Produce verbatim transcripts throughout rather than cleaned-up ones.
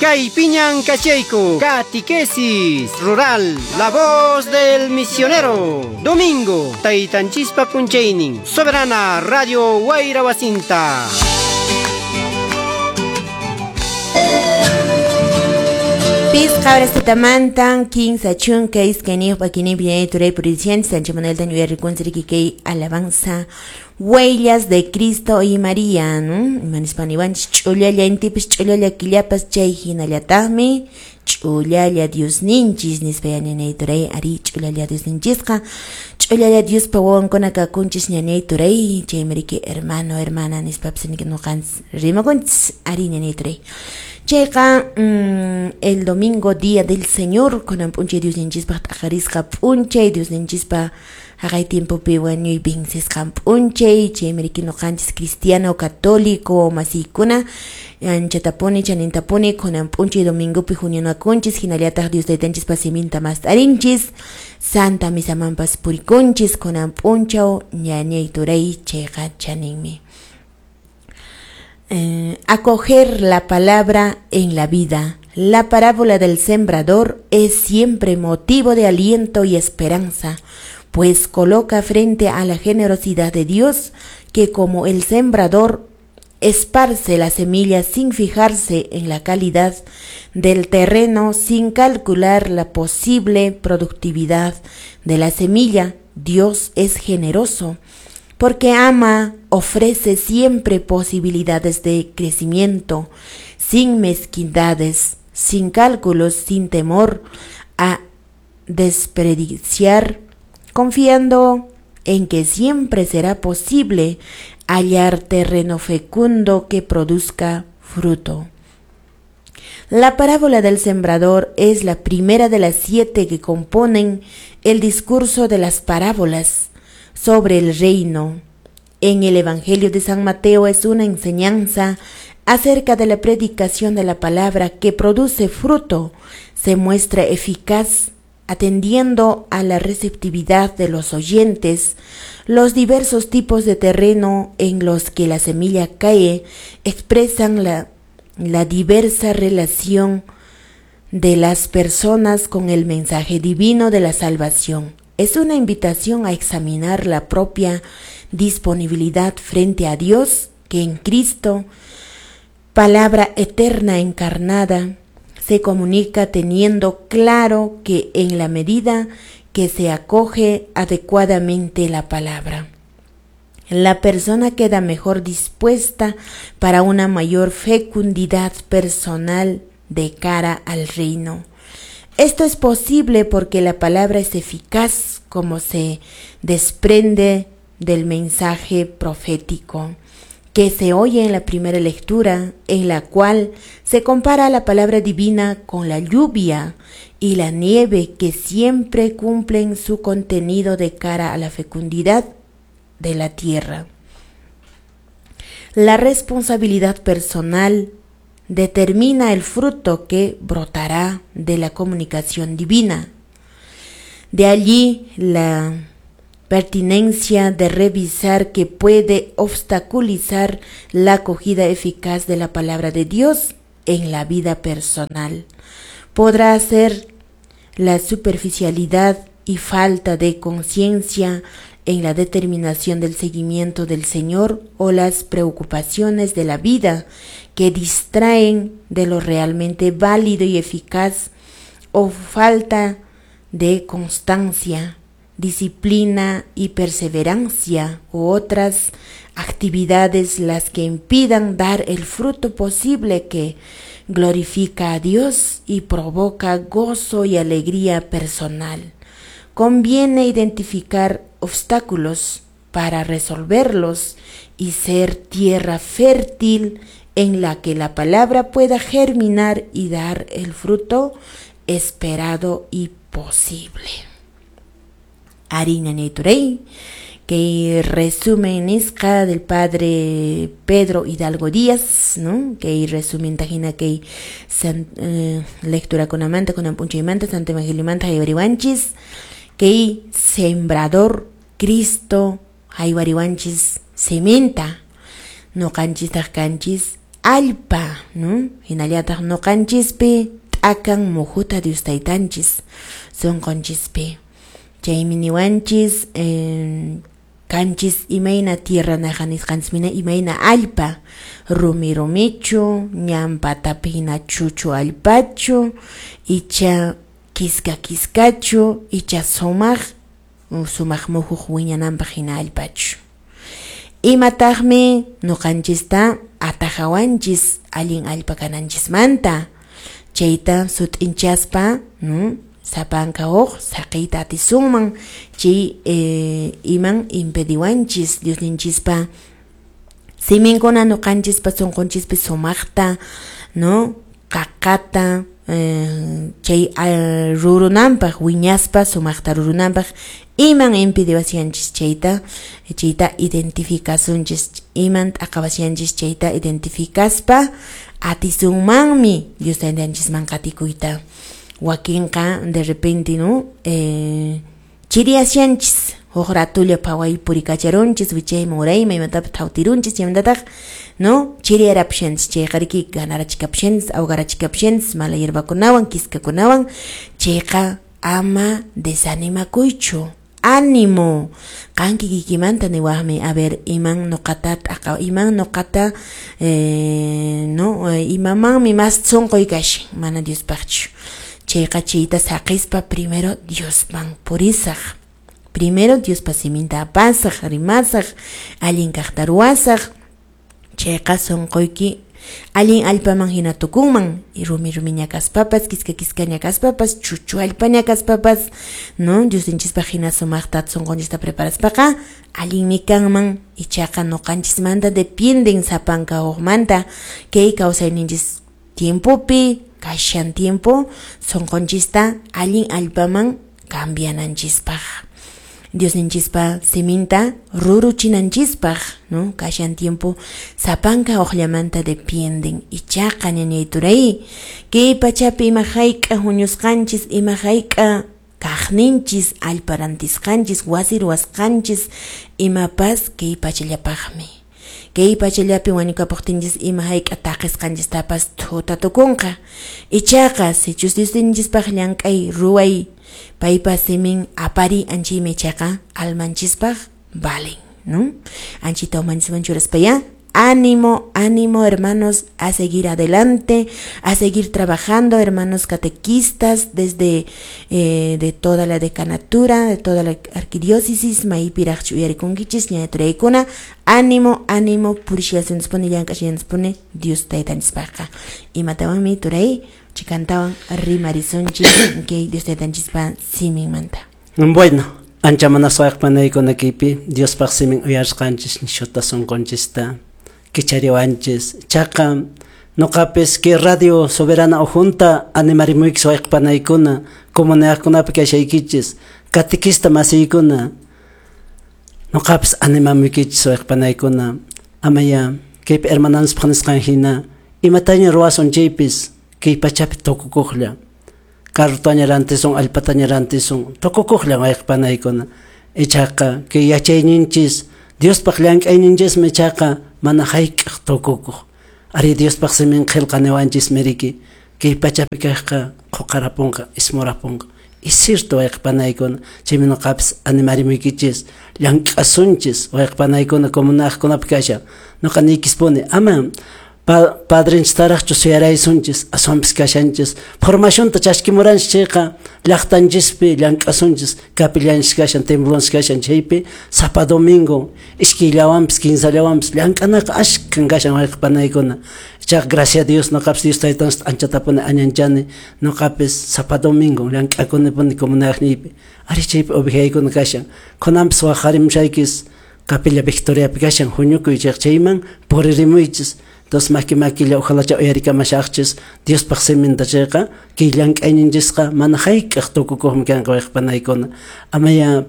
Kaypiñan kachayku, Catequesis Rural, la voz del misionero. Domingo, Taytanchispa p'unchaynin, Soberana Radio Wayra Wasinta. Pisqa horas kinsa chunka iskayniyuq p'akinimpi ñañay turay puririchanchis Sancho Manuel tañuyarikunchik kay alabanza Huellas de Cristo y María, ¿no? Imanispa niwanchis ch'ullalla intipas ch'ullalla killapas chay hinallataqmi ch'ullalla Diosninchis nispa ñañay turay ari ch'ullalla Diosninchisqa ch'ullalla Diospa wawankuna kakunchis ñañay turay chaymi riki hermano hermana nispapas nuqanchis rimakunchis ari ñañay turay. Chayqa mmm, el domingo día del Señor kunan p'unchay Diosninchispaq t'aqarisqa p'unchay Diosninchispa haqay tiempopi wañuy vencisqan p'unchay chaymi riki nuqanchis cristiano católico masiykuna anchatapuni chanintapuni kunan p'unchay domingopi huñunakunchis hinallataq Dios taytanchispa siminta mast'arinchis Santa misamanpas purikunchis kunan p'unchaw ñañay turay chayqa chaninmi. Eh, acoger la palabra en la vida. La parábola del sembrador es siempre motivo de aliento y esperanza, pues coloca frente a la generosidad de Dios que como el sembrador esparce la semilla sin fijarse en la calidad del terreno, sin calcular la posible productividad de la semilla. Dios es generoso porque ama, ofrece siempre posibilidades de crecimiento, sin mezquindades, sin cálculos, sin temor a desperdiciar, confiando en que siempre será posible hallar terreno fecundo que produzca fruto. La parábola del sembrador es la primera de las siete que componen el discurso de las parábolas sobre el reino. En el Evangelio de San Mateo es una enseñanza acerca de la predicación de la palabra que produce fruto, se muestra eficaz atendiendo a la receptividad de los oyentes. Los diversos tipos de terreno en los que la semilla cae expresan la, la diversa relación de las personas con el mensaje divino de la salvación. Es una invitación a examinar la propia disponibilidad frente a Dios, que en Cristo, palabra eterna encarnada, se comunica teniendo claro que en la medida que se acoge adecuadamente la palabra, la persona queda mejor dispuesta para una mayor fecundidad personal de cara al reino. Esto es posible porque la palabra es eficaz, como se desprende del mensaje profético que se oye en la primera lectura, en la cual se compara la palabra divina con la lluvia y la nieve que siempre cumplen su contenido de cara a la fecundidad de la tierra. La responsabilidad personal determina el fruto que brotará de la comunicación divina. De allí la pertinencia de revisar que puede obstaculizar la acogida eficaz de la palabra de Dios en la vida personal. Podrá ser la superficialidad y falta de conciencia en la determinación del seguimiento del Señor o las preocupaciones de la vida que distraen de lo realmente válido y eficaz, o falta de constancia, disciplina y perseverancia u otras actividades las que impidan dar el fruto posible que glorifica a Dios y provoca gozo y alegría personal. Conviene identificar obstáculos para resolverlos y ser tierra fértil en la que la palabra pueda germinar y dar el fruto esperado y posible. Harina Neturei, que resumen nisqa del padre Pedro Hidalgo Díaz, ¿no? Que resumen tajina que san, eh, lectura con amanta, con ampunchaymanta, Santo Evangelio manta, haywariwanchis, que sembrador Cristo, haywariwanchis, sementa, no canchis kanchis, Allpa, ¿no? Hinallataq ñuqanchispi t'akan muhuta Dios taytanchis sunqunchishpi. Chaymi niwanchis eh, kanchis imayna tierra naqa nisqanchismina imayna allpa, rumi rumichu, ñan patapi hina chuchu allpachu, icha kiska kiskachu, icha sumaq sumaq muhuq wiñananpaq hina allpachu. Imataqmi ñuqanchista atajawanchis allin allpa kananchismanta, chayta sut'inchaspa, ¿no? Sapanka huk saqiyta atisunman chay eh, iman impediwanchis Diosninchispa siminkuna ñuqanchispa sunqunchispi sumaqta, ¿no? Qaqata eh, chay uh, rurunanpaq wiñaspa sumaqta rurunanpaq iman impediwashanchis chayta chayta identificasunchis, iman t'aqawashanchis chayta identificaspa atisunmanmi Dios taytanchisman qatikuyta. Wakinqa de repente, ¿no? Eh, chiriyashanchis huk ratulla phaway purikacharunchis wichayman urayman imatapas thawtirunchis chaymantataq, ¿no? Chiriyarapushanchis chayqa riki ganarachikapushanchis awgarachikapushanchis mala hierbakunawan kiskakunawan chayqa ama desanimakuychu. Ánimo, qan kikikimanta niwaqmi, a ver, iman ñuqata t'aqa, iman ñuqata eh, no, imamanmi mas sunquy kashan, mana Diospaqchu. Chayqa chayta saqispa primero Diosman purisaq. Primero Diospa siminta apasaq, rimasaq, allin kaqta ruwasaq. Chayqa sunquyki allin allpaman hina tukunman, y rumi rumiña kaspapas, kiska kiskaña kaspapas, chuchu allpaña kaspapas, ¿no? Diosninchispaq hina sumaqta sunqunchista preparaspaqa allinmi kanman, ichaqa ñuqanchismanta dependen sapanka hukmanta kay kawsayninchis tiempopi kashan tiempo sunqunchista allin allpaman cambiananchispaq. Diosninchispa siminta ruruchinanchispaq, ¿no? Kashan tiempo sapanka uqllamanta dependen. Ichaqa ñañay turay, kay pachapi ima hayk'a huñusqanchis, ima hayk'a kaqninchis, allpa rantisqanchis, wasi ruwasqanchis, imapas kay pachallapaqmi. Kay pachallapi wañukapuqtinchis ima hayk'a taqisqanchistapas thuta tukunqa. Ichaqa sichus Diosninchispaq llank'ay ruway paypa simin apari anchaymi ichaqa almanchispaq valen, ¿no? Anchita umanchisman churaspaya, ánimo, ánimo hermanos, a seguir adelante, a seguir trabajando, hermanos catequistas desde eh, de toda la decanatura, de toda la arquidiócesis, maypiraqchu uyarikunkichis, ñañaturaykuna, ánimo, ánimo, purishiasunchispuni, llank'ashianchispuni, Dios taytanchispaqqa. Imatawanmi turay, chikantawan rimarisunchis, kay Dios taytanchispa siminmanta. Bueno, ancha manaswayqpanaykuna kaypi Diospaq simin uyarisqanchis nishuta sunqunchista kichariwanchis. Chaqa noqapis kay Radio Soberana ujunta animarimuykichis wayqpanaykuna comunidadkunapi kashaykichis catequista masiykuna noqapis animamuykichis wayqpanaykuna amaya kaypi hermananchispaq nisqan hina imataña ruwasun chaypis kay pachapi tukukuqlla carrotaña rantisun allpataña rantisun tukukuqlla wayqpanaykuna ichaqa kay yachayninchis Diospaq llank'ayninchismi ichaqa mana hayk'aq tukukuq. Ari Diospaq simin qillqaniwanchis miriki kay pachapi kaqqa quqarapunqa ismurapunqa. Es cierto wayqpanaykuna chaymi nuqapis animarimuykichis llank'asunchis wayqpanaykuna comunidadkunapi kashan nuqa niykispuni ama pa padrinchistaraqchu suyaraysunchis aswanpis kashanchis formacionta chaskimuranchis chayqa llaqtanchispi llank'asunchis capillanchis kashan templonchis kashan chaypi sapa domingo iskayllawanpis kinsallawanpis llank'anaqa ashkan kashan wayqpanaykuna. Ichaqa gracias a Dios nuqapis Dios taytanchista anchatapuni añanchani nuqapis sapa domingo llank'akunipuni comunidadniypi ari chaypi ovejaykuna kashan kunanpis waqarimushaykis Capilla Victoriapi kashan huñukuy chayqa chayman puririmuychis. Entonces maki makilla ojalá cha uyarikamashaqchis Diospaq siminta chayqa kay llank'ayninchisqa mana hayk'aq tukukuqmi kanqa wayqpanaykuna. Amaya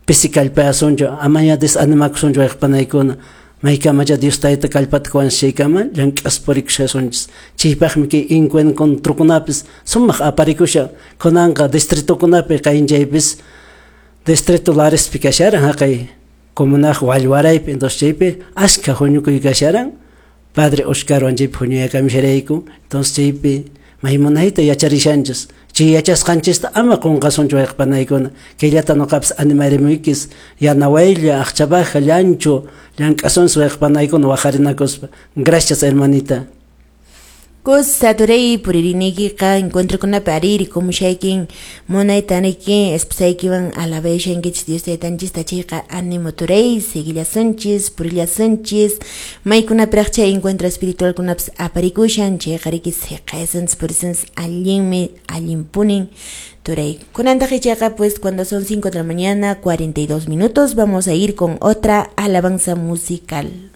pisi kallpayasunchu, amaya desanimakusunchu wayqpanaykuna. Maykamacha Dios tayta kallpata kuwanchis chaykama llank'aspa purikushasunchis. Chaypaqmi kay encuentrokunapis sumaq aparikushan. Kunanqa distritokunapi qaynchaypis distrito Larespi kasharan haqay comunaj wallwaraypi, entonces chaypi ashka huñukuy kasharan. Padre Oscarwan chaypi huñuyakamisharayku. Entonces chaypi maymunayta yacharishanchis. Chay yachasqanchista ama qunqasunchu wayqpanaykuna. Kayllata nuqapas animarimuykis yanawaylla, aqchabaja, llanchu, llank'asunchis wayqpanaykuna waqarinakuspa. Gracias, hermanita. Kusa turay puririnikiqa encuentrokunapi ariri kumushaykin munayta niki esposaykiwan alabayshankichis Dios taytanchista chayqa animo turay seguillasunchis purillasunchis maykunapiraq chay encuentro espiritualkunapas aparikushan chayqa riki siqaysunchis purisunchis allinmi allinpunin turay. Kunantaq ichaqa pues cuando son cinco de la mañana cuarenta y dos minutos vamos a ir con otra alabanza musical.